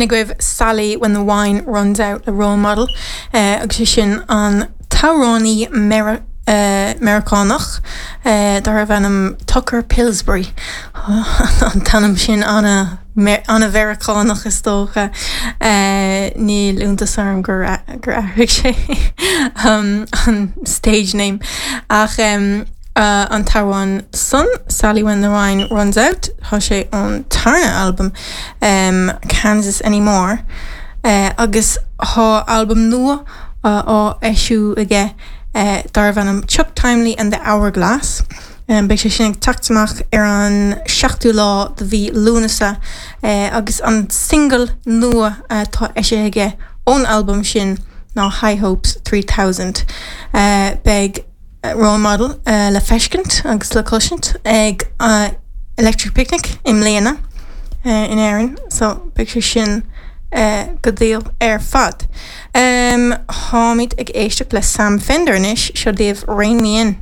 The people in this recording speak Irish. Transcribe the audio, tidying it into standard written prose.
B'in agaibh Sally When the Wine Runs Out le Role Model agus sé sin an t-amhránaí Meiriceánach darbh ainm Tucker Pillsbury. An t-ainm sin ana-Mheiriceánach is dócha. Níl iontas orm gur athraigh sé an stage name ach an t-amhrán san, Sally When the Wine Runs Out, tá sé ón tarna albam Kansas Anymore agus tá albam nua á eisiú aige darbh ainm Chuck Timely and the Hourglass. Beidh sé sin ag teacht amach ar an seachtú lá de mhí Lúnasa agus an single nua atá eisithe aige ón albam sin ná High Hopes 3000. Beidh Role Model le feiscint agus le cloisint ag Electric Picnic i mbliana in Éirinn so beidh sé sin go diail ar fad. Táimid ag éisteacht le Sam Fender anois, seo daoibh Rein Me In.